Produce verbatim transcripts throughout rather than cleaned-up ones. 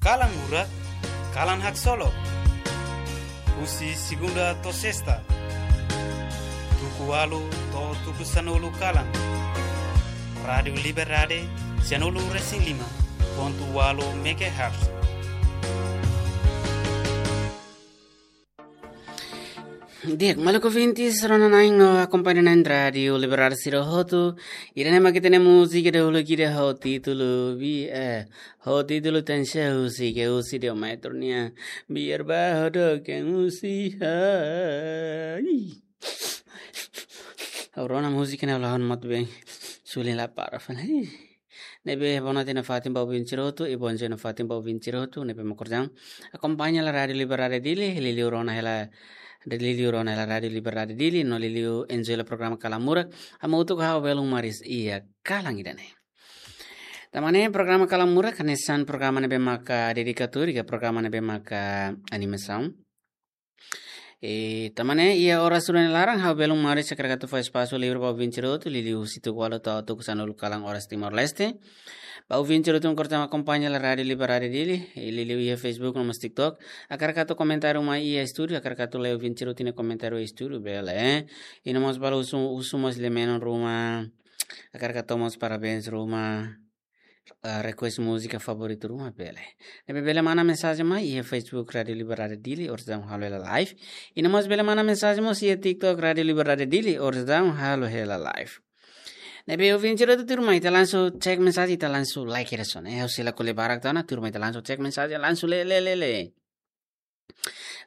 Kalan Murak, kalan haksolok. Husi segunda to'o sesta, tuku ualu to'o tuku sanulu kalan. Rádiu Liberdade, sianulu resin lima pontu ualu megahertz. Di'ak, maluk ouvintes, rona-na'in no akompaña-na'in Rádiu Liberdade sira hotu. Ida-ne'e mak ita-nia múzika dahuluk ida ho títulu bi, eh, ho títulu Tenxe husi Geusi de Metro nian. Biar ba ha'u doken husi ha. Ih. Ha'u rona múzika ne'e la hon mot bem. Suli la para fana. Ih. Ne'ebé boa noite nafatin ba ouvinte sira hotu, i bonjor nafatin ba ouvinte sira hotu, ne'ebé mak orsida akompaña hela Rádiu Liberdade Dili, liuliu rona hela, liuliu rona hela Rádiu Liberdade Dili, no liuliu enjoy hela programa Kalan Murak, hamutuk ho ha'u belun maris iha kalan ida-ne'e. Tanba ne'e programa Kalan Murak, hanesan programa ne'ebé maka dedika tuir, ka programa ne'ebé maka animasaun. I tanba ne'e, iha oras rua nia laran, ha'u belun maris hakarak atu fó espasu livre ba ouvinte sira hotu, liuliu husi tuku ualu to'o tuku sanulu kalan oras Timor-Leste. Ba ouvinte sira hotu mak orsida akompaña hela Rádiu Liberdade Dili, i liuliu iha Facebook no mós TikTok. Hakarak atu komentáriu mai iha estúdiu, hakarak atu lee ouvinte sira hotu nia komentáriu iha estúdiu, bele. I no mós balu husu, husu mós lemeno ruma, hakarak atu mós parabéns ruma, ah, request múzika favoritu ruma, bele. Ne'ebé bele manda mensajen mai iha Facebook Rádiu Liberdade Dili, orsida halo hela live. I no mós bele manda mensajen mós iha TikTok Rádiu Liberdade Dili, orsida halo hela live. Ne'ebé ouvinte sira hotu tuirmai ita langsung cek mensajen, ita langsung like hela sone. Eh, ha'u sei la ko'alia barak tiha ona, tuirmai ita langsung cek mensajen, langsung lee, lee, lee, lee.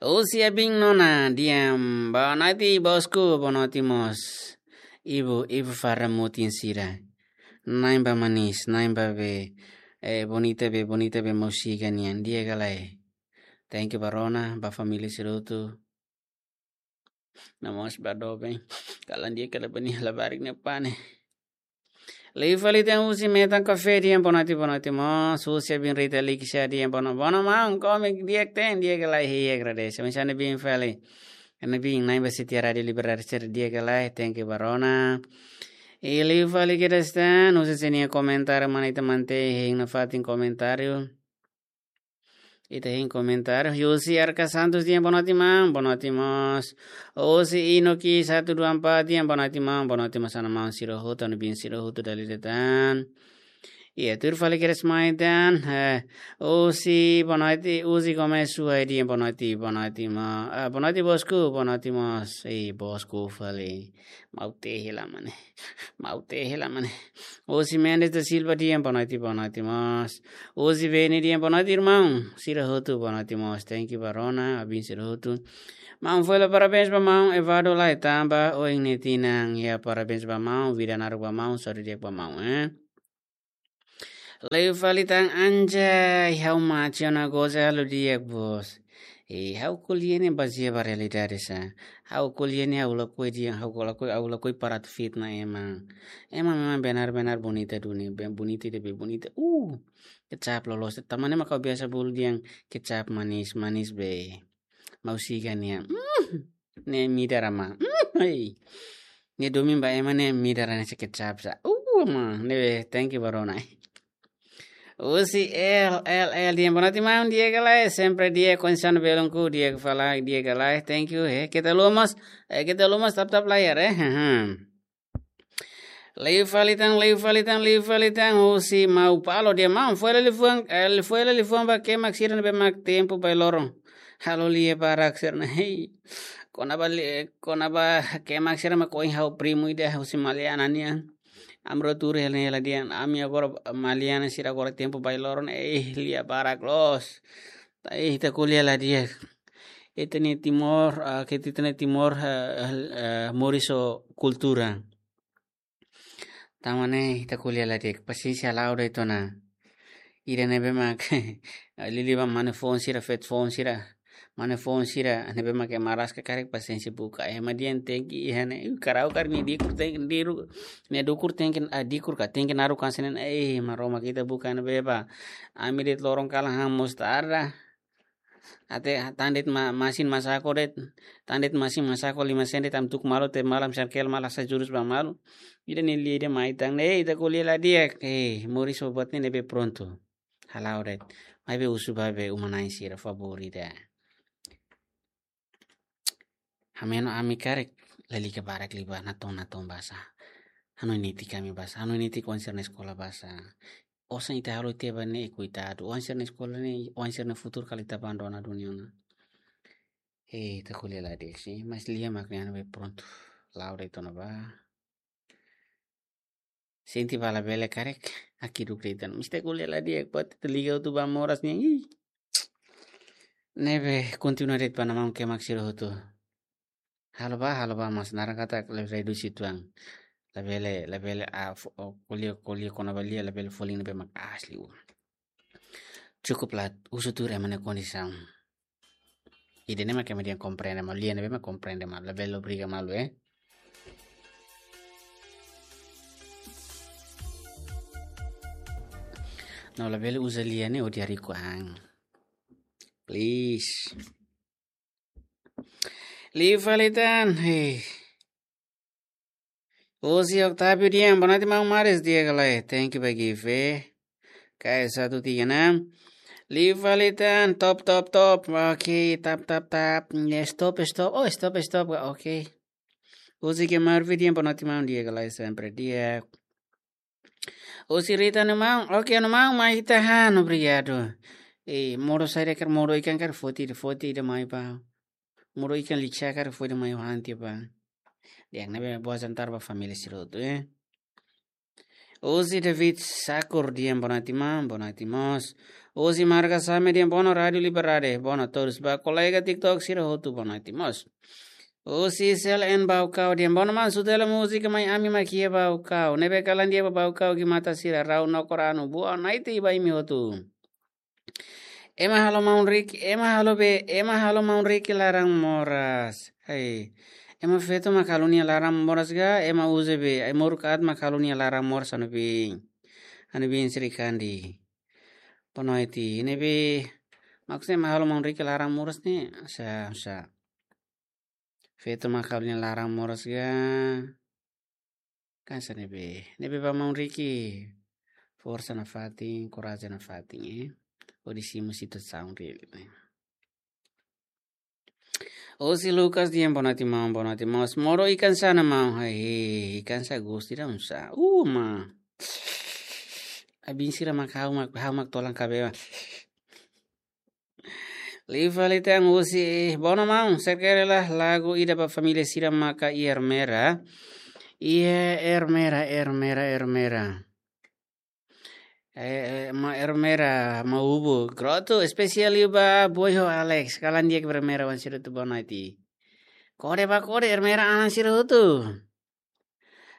Husi Abin Nona dehan, boa noite bosku, boa noite mós. Ibu, ibu fara mutin sira. Na'in ba manis, na'in ba be, eh, bonita be, bonita be múzika nian, di'ak ka lae. Thank you ba rona, ba família sira hotu. No mós ba doben. Kalan di'ak ka lae, bani labarik ne'e pane. Liu fali tan husi Metan Café dehan boa noite, boa noite mós. Husi Abin Rita Likisha dehan boa no-, boa noite maun, kome di'ak tan, di'ak ka lae, hei, agradese. Mensana bin fali. Ana bin, na'in ba setia Rádiu Liberdade sira, di'ak ka lae, thank you ba rona. I liu fali kedas tan, husi sira-nia komentáriu, mana ita mantei hein nafatin komentáriu. Ita hein komentáriu. Husi Arca Santos dehan boa noite maun, boa noite mós. Husi Inoki satu dua empat dehan boa noite maun, boa noite mós ana maun sira hotu, ana bin sira hotu dala ida tan. Iha tuir fali kedas mai tan. Eh, husi boa noite, husi Gomes Suai dehan boa noite, boa noite maun. Ah, boa noite bosku, boa noite mós. Eh, bosku fali. Maun tehe la mane. Maun tehe la mane. Husi Mendes da Silva dehan boa noite, boa noite mós. Husi Vene dehan boa noite irmaun sira hotu, boa noite mós. Thank you ba rona, abin sira hotu. Maun foin halo parabéns ba maun Evado Lai Tamba, ohin nia tinan. Ya, parabéns ba maun, vida naruk ba maun, saúde di'ak ba maun, eh. Liu fali tan Anja, ha'u mate ona goza halo di'ak bos. Eh, ha'u ko'alia ne'e bazeia ba realidade sa. Ha'u ko'alia ne'e ha'u lakohi dehan, ha'u lakohi, ha'u lakohi para atu fitnah ema. Ema memang benar-benar bonita duni, be-, bonita ida be bonita. Uh, kecap loloos. Tanba ne'e mak ha'u biasa bolu dehan kecap manis, manis be. Mau siga nia. Mm, ne'e midar ama. Mm, hei. Ne'e domin ba ema ne'e midar ne'e kecap sa. Uh, ma, ne'e be, thank you ba rona. Husi L L L dehan boa noite maun, di'ak ka lae, sempre di'ak, kondisaun belunku, di'ak ka lae, di'ak ka lae, thank you, eh. Keta haluha mós, eh, keta haluha mós tap-tap layar, eh. Haha. Liu fali tan, liu fali tan, liu fali tan, husi Mau Paulo dehan maun, foin hela liafuan, eh, foin hela liafuan ba kemak sira ne'ebé mak tempu bailoron halo lia barak sira-ne'e, hei. Kona-ba li-, kona-ba kemak sira mak ohin ha'u primu ida husi Maliana nian. Ami rua tuur hela ne'e hela dehan, ami agora Maliana sira agora tempu bailoron, eh, lia barak loos. Ta, eh, ita ko'alia la di'ak. Ita-nia Timor, ah, ke ita-nia Timor, eh, eh, moris ho kultura. Tanba ne'e ita ko'alia la di'ak, pasiénsia la'o de'it ona. Ida ne'ebé mak liuliu ba mane foun sira, feto foun sira. Mane foun sira ne'ebé mak ema rasik karik pasiénsia buka. Ema dehan tenke iha ne'e, karau kar nia dikur tenke diru, nia dukur tenke, ah, dikur ka tenke naruk hanesan ne'e, eh, Maromak ita buka ne'ebé ba. Ami de'it loron kalan han mostarda. Até tan de'it ma-, masin masako de'it, tan de'it masin masako lima sen de'it ami tuku malu, te malam sangkel malah sa jurus ba malu. Ida ne'e lia ida mai tan, eh, ita ko'alia la di'ak, eh, moris ho buat ne'e ne'ebé prontu. Hala'o de'it. Maibé husu ba be uma-na'in sira favór ida. Hameno ami karik lalika barak liu ba, natoon-natoon basa. Hanoin netik ami basa, hanoin netik oan sira-nia eskola basa. Osan ita halo tiha ba ne'e, koitadu. Oan sira-nia eskola ne'e, oan sira-nia futuru kala ita abandona duni ona. Eh, ita ko'alia la di'ak sih, mas lia mak ne'e be prontu. La'o de'it ona ba. Sente ba labele karik, hakiduk de'it ona. Mesti ko'alia la di'ak, buat ita liga hotu ba moras nian, ih. Ne'ebé kontinua de'it ba, maun-alin sira hotu. Halo ba, halo ba, mas naran katak le redusi tuan. Labele, labele, ah, fo-, oh, ko'alia, ko'alia kona-ba lia, labele folin ne'ebé mak asli, uh. Cukup la, husu tuir ema nia kondisaun. Ida-ne'e mak ema dehan komprende malu, lia ne'ebé mak komprende malu, labele obriga malu, eh. No labele uza lia ne'e hodi hariku an. Please. Liu fali tan, hei. Husi Octavio Dian, boa noite, maun Maris, di'ak ka lae? Thank you ba gift, eh. Kayak satu tiga enam. Liu fali tan, top, top, top. Oke, tap, tap, tap. Ya, stop, stop. Oh, stop, stop. Oke. Husi ke Marvi Dian, boa noite, maun, di'ak ka lae? Sempre di'ak. Husi Rita, anu maun, oke, anu maun, mai ita han, obrigadu. Eh, modo saida karik, modo ikan karik foti, foti ida mai ba. Modo ikan lixa karik foti mai han tiha ba. Di'ak, ne'ebé boa jantar ba família sira hotu, eh. Husi David Sakur Dian, boa noite maun, boa noite mós. Husi Marga Same Dian, boa noite Rádio Liberdade, boa noite todos. Ba kolega TikTok sira hotu, boa noite mós. Husi Sel en Baucau Dian, boa noite maun, sutela múzika mai ami mak iha Baucau. Ne'ebé kalan dia ba Baucau, gimata sira rau no koranu. Boa noite ba imi hotu. Ema halo maun Riki, ema halo be, ema halo maun Riki laran moras. Hai. Ema feto mak halo nia laran moras ka, ema uza be, ai moruk aat mak halo nia laran moras anu bin. Anu bin Sri Kandi. Boa noite, ne'ebé, maksudnya ema halo maun Riki laran moras ne'e, sa, sa. Feto mak halo nia laran moras ka. Kan sa ne'ebé. Ne'ebé ba maun Riki. Forsa nafatin, korajen nafatin, eh. Hodi simu situasaun reál, eh. Husi Lucas Dian, boa noite maun, boa noite maun. Modo ikan sá maun, hai, ikan sá gostu ida oinsá. Uh, ma. Ai bin sira mak ha'u mak, ha'u mak tolan kabema. Liu fali tan husi, boa noite maun, serkere la lagu ida ba família sira maka iha Ermera. Iha Ermera, Ermera, Ermera. Eh, eh, ma Ermera, ma ubu. Grotu, espesiál liu ba Boy ho Alex. Kalan di'ak Ermera, oan sira hotu, boa noite. Kode ba kode, Ermera, oan sira hotu.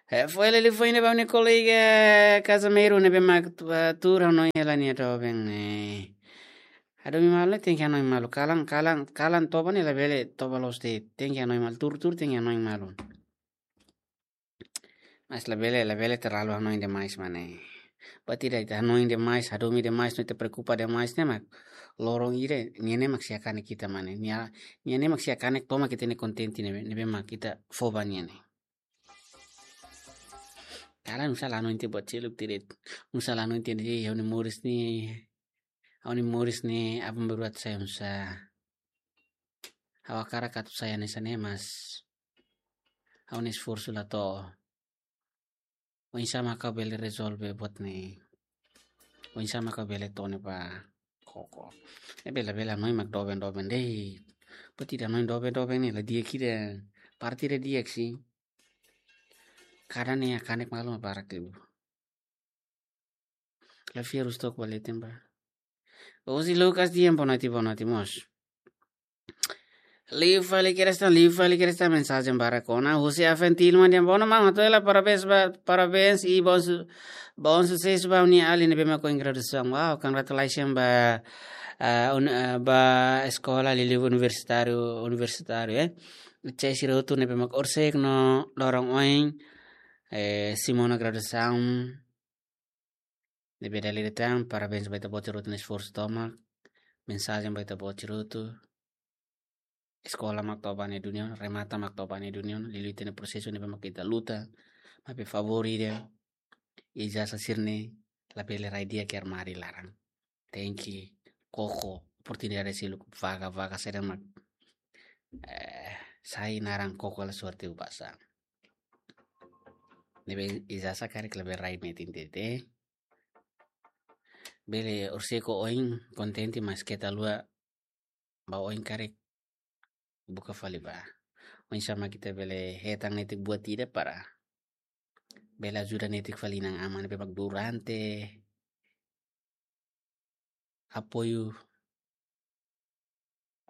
Eh, foin lili foin ba nia kolega Casimiro ne'ebé mak tu-, eh, tuur hanoin hela nia doben, eh. Hadomi malu, tenke hanoin malu. Kalan, kalan, kalan toba ne'e labele toba loos de'it. Tenke hanoin malu, tuur, tuur, tenke hanoin malu. Mas labele, labele terlalu hanoin demais, mane. Buat ida ita hanoin demais, hadomi demais, no ita preokupa demais ne'e mak loron ida, nia ne'e mak sei hakanek ita, mane. Nia, nia ne'e mak sei hakanek tomak ita-nia kontente ne'e, ne'ebé mak ita fó ba nia ne'e. Kalan oinsá la hanoin tiha buat seluk de'it. Oinsá la hanoin tiha de'it, ha'u-nia moris ne'e, ha'u-nia moris ne'e, aban-bainrua sai oinsá. Ha'u hakarak atu sai hanesan ne'e, mas ha'u-nia esforsu la to'o. Oinsá mak ha'u bele rezolve buat ne'e. Oinsá mak ha'u bele tone ba koko. Eh, bele, bele hanoin mak doben-doben de'it. Buat ida hanoin doben-doben ne'e la di'ak ida. Parte ida di'ak sih. Kada ne'e hakanek malu mak barak liu. La fiar ustok baletin ba. Husi Lucas Dian, boa noite, boa noite mós. Liu fali kedas tan, liu fali kedas tan, mensajen barak ona. Husi Aventil Mandian, boa noite maun, hato'o hela parabéns ba, parabéns i bom su-, bom susesu ba nia alin ne'ebé mak ohin graduasaun. Wow, congratulations ba, ah, un-, ah, ba eskola liuliu universitáriu, universitáriu, eh. Cek sira hotu ne'ebé mak horisehik no loron ohin, eh, simu ona graduasaun. Ne'ebé dala ida tan, parabéns ba ita-boot sira hotu nia esforsu tomak. Mensajen ba ita-boot sira hotu. Eskola mak to'o ba nia duni ona, remata mak to'o ba nia duni ona, liuliu ita-nia prosesu ne'ebé mak ita luta. Maibé favór ida, ijazah sira-ne'e labele rai di'ak iha armáriu laran. tenke koko oportunidade seluk, vaga-vaga saida mak, eh, sai naran koko hela sorte basa. Ne'ebé ijazah karik lebih rai metin tete. Bele orsida oin kontente, mas keta haluha ba oin karik buka fali ba. Oinsá mak ita bele hetan netik buat ida para bele ajuda netik fali inan-aman ne'ebé mak durante apoiu,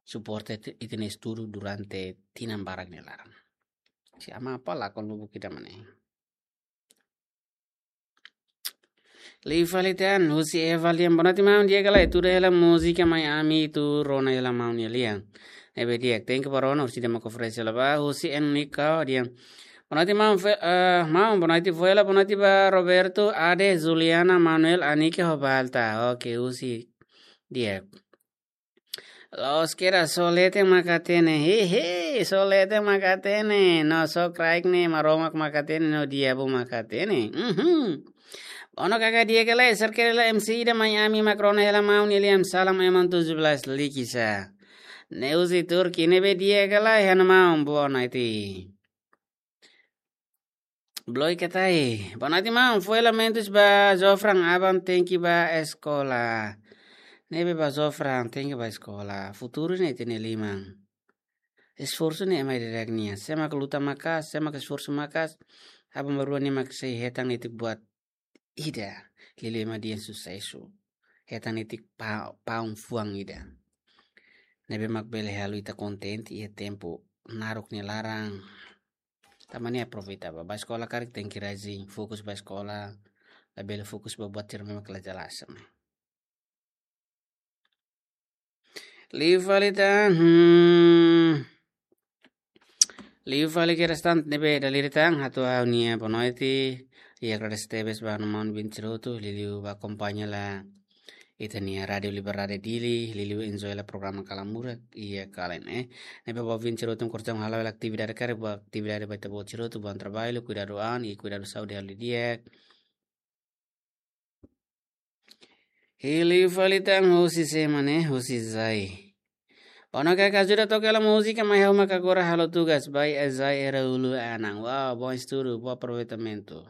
suporta ita-nia estudu durante tinan barak nia laran. Se ama apa lakon lubuk ida mane. Liu fali tan, husi Eva Lian, boa noite maun, di'ak ka lae, tuda hela múzika mai ami atu rona hela maun nia lian. Ne'ebé di'ak, tenke ba rona, husi dema konferénsia la ba, husi N Nika, di'ak. Boa noite maun, fe-, eh, maun, boa noite Vuela, boa noite ba Roberto, Ade, Juliana, Manuel, Anike, ho Balta. Oke, husi di'ak. Loos kera, só leten mak hatene. Hehe, só leten mak hatene. No só kraik ne'e, Maromak mak hatene, no diabu mak hatene. Mhm. Bono kaka di'ak ka lae, serkere la M C ida mai ami mak rona hela maun nia lian, salam Eman tujuh belas likisa. Ne'e husi Turki, ne'ebé di'ak ka lae, hana maun, boa noite. Bloi katai. Boa noite maun, fó lamentus ba Jofran, aban tenke ba eskola. Ne'ebé ba Jofran tenke ba eskola. Futuru ne'e ita-nia liman. Esforsu ne'e ema ida-idak nian. Sé mak luta maka'as, sé mak esforsu maka'as, aban ba rua ne'e mak sei hetan netik buat ida, liuliu ema dehan susesu. Hetan netik pa-, paun fuan ida. Ne'ebé mak bele halo ita kontente iha tempu naruk nia laran. Tanba ne'e aproveita ba, ba eskola karik tenke rajin, fokus ba eskola, labele fokus ba buat sira ne'ebé mak la jelas. Liu fali tan, hmm. Liu fali kedas tan ne'ebé dala ida tan, hato'o ha'u-nia boa noite, i agradese tebes ba maun Vin Tiroto, liuliu ba akompaña hela ita-nia Rádio Liberdade Dili, liuliu enjoy hela programa Kalan Murak, iha kalan, eh. Ne'ebé ba Vin Tiroto kortaun hala'o hela atividade karik, ba atividade ba ita-boot Tiroto, bom trabalho, kuidadu an, i kuidadu saúde halo di'ak. Liu fali tan husi sé mane, husi Zai. Bono kaka ajuda toka hela múzika mai ha'u mak agora halo tugas, ba Zai Era Ulu Anan. Wow, bom estudu, bom aproveitamentu.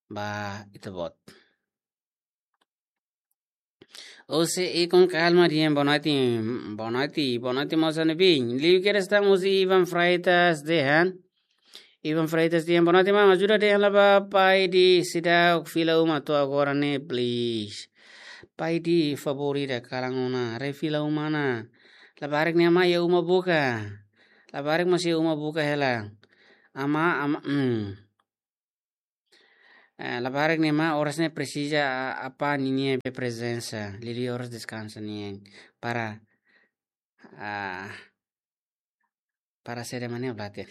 Ba ita-boot. Husi Ikon Kalma dehan boa noite, boa noite, boa noite, moza Nebin. Liu kedas tan husi Ivan Freitas dehan. Ivan Freitas dehan, boa noite maun, ajuda dehan hela ba pai di seidauk fila uma to'o agora ne'e, please. Pai di, favór ida, kalan ona, haree fila uma ona. Labarik nia amá iha uma buka. Labarik mós iha uma buka hela. Amá, amá, hmm. Eh, labarik nia amá oras ne'e presiza a-, apá ninia be prezensa. Liuliu oras deskansa nian. Para, ah, para saida mane, Blatter.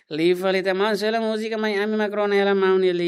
Liu fali tan maun, sela múzika mai ami mak rona hela maun nia lian.